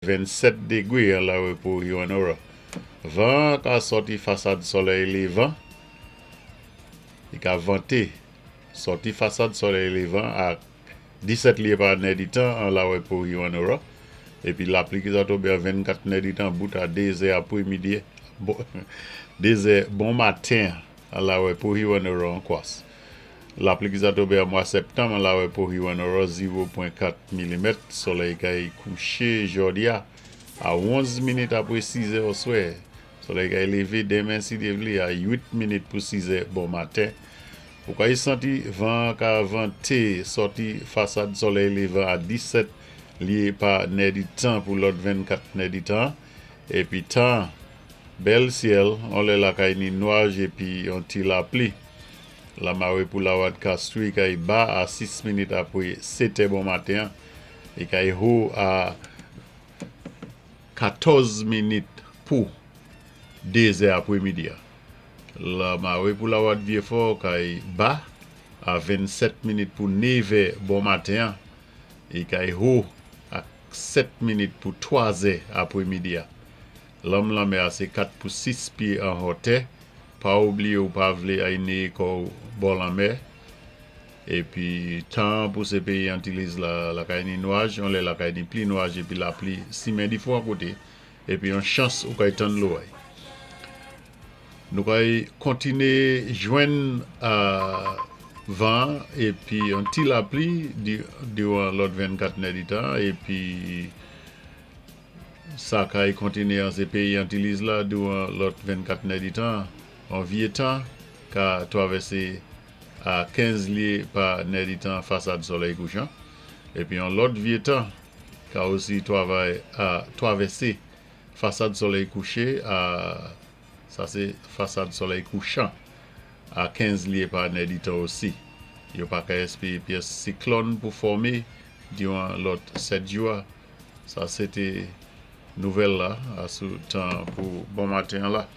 27 dégwé an lawé pou Hewanorra. Van ka sòti fasad solèy lévan, i ka vanté sòti fasad solèy lévan a 17 lyé pa nèditan an lawé pou Hewanorra. Épi lapli ki za tonbé an 24 nèditan bout a 2 zè apwémidi, 2 zè bon maten an lawé pou Hewanorra an kwas. Lapli ki za tonbé an mwa sèptanm an lawé pou Hewanorra 0.4 milimèt. Solèy kay kouché jòdi-a a 11 minit apwé 6 zè oswè. Solèy kay lévé denmen si Dye vlé a 8 minit pou 6 zè bon maten. Ou kay santi van ka vanté sòti fasad solèy lévan a 17 lyé pa nèditan pou lòt 24 nèditan. Épi tan, bèl syèl, on lè la kay ni nwaj épi on ti lapli. Lamawé pou Lawad Castries kay ba a 6 minit apwé 7 è bon maten é kay ho a 14 minit pou 2 zè apwémidi. Lamawé pou Lawad Vyéfò kay ba a 27 minit pou 9 è bon maten é kay ho a 7 minit pou 3 zè apwémidi. Lanm lanmè a sé 4 pou 6 pyé an hotè. Pa oubliyé ou pa vlé ay néyé kò bò lanmè. Épi tan pou sé péyi Antilles la, la kay ni nwaj, on lè la kay ni pli nwaj épi lapli simen difwan koté. Épi yon chans ou kay tann loway. Nou kay kontiné jwenn van épi yon ti lapli diwan lòt 24 nèditan épi sa kay kontiné an sé péyi Antilles la diwan lòt 24 nèditan. An vyé tan ka twavèsé a 15 lyé pa nèditan fasad solèy kouchan. Épi yon lòt vyé tan ka osi twavay a twavèsé fasad solèy kouché a sa sé fasad solèy kouchan a 15 lyé pa nèditan osi. Yo pa ka èspéwé pyès siklòn pou fòmé diwan lòt 7 jou. Sa sé té nouvèl la asou tan pou bon maten la.